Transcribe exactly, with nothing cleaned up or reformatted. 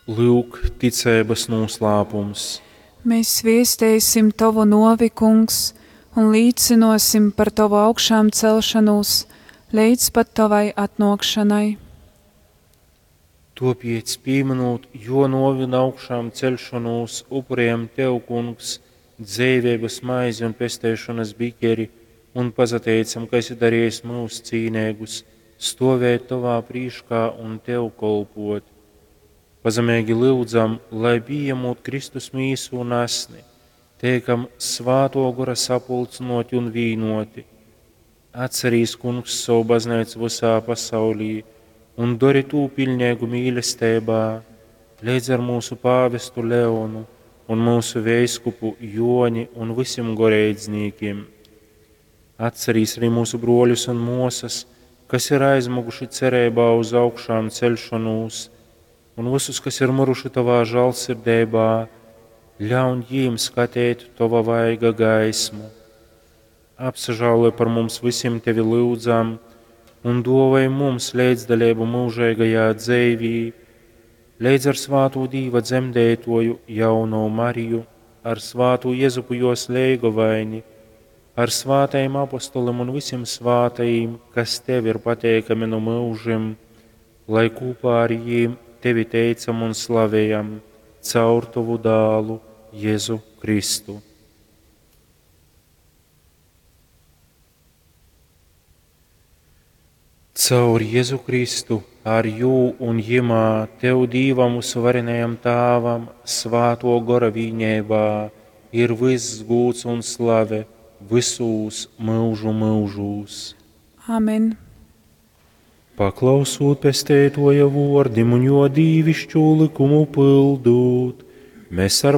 Lyuk, ticeibas nūslāpums. Mēs viesteisim Tovu nuovi, Kungs, un līcynuosim par Tovu augšām celšanūs leidz pat Tovai atnuokšanai. Tuopiec, pīmynūt Juo nuovi un augšām ceļšonūs, upurējam Tev, Kungs, dzeiveibys maizi un pesteišonys bikeri un pasateicam, ka esi darījis myus cīneigus stuovēt Tovā prīškā un Tev kolpot. Pazemeigi lyudzam, lai pījemūt Kristus mīsu un asni, teikam Svātuo Gora sapulcynuoti un vīnuoti. Atcerīs, Kungs, sovu bazneicu vysā pasaulī un dori tū piļneigu mīlesteibā, leidz ar mūsu pāvestu Leonu un mūsu veiskupu Joni un vysim goreidznīkim. Atcerīs arī mūsu bruoļus un muosas, kas ir aizmuguši cereibā uz augšām ceļšanūs, un visus, kas ir miruši Tavā žālsirdeibā, ļaun jīm skatēt Tova vaiga gaismu. Apsažāloj par mums vysim Tevi lyudzam, un duovoj mums leidzdaleibu mūžeigajā dzeivī, leidz ar svātū Dīva dzemdētoju jauno Mariju, ar svātū Jezupu jos leigovaini, ar svātajim apostolim un vysim svātajim, kas Tev ir pateikami nu mūžim, lai kopā ar jīm Tevi teicam un slavējam caur Tovu dālu Jēzu Kristu. Caur Jēzu Kristu, ar jū un jimā, Tev Dīvam vysuvarenajam Tāvam, Svāto Gora vīneibā, ir vyss gūds un slave vysūs myužu myužūs. Amen. Paklausūt Pesteituoja vuordim un juo dīvišķū lykumu pyldūt, mēs ar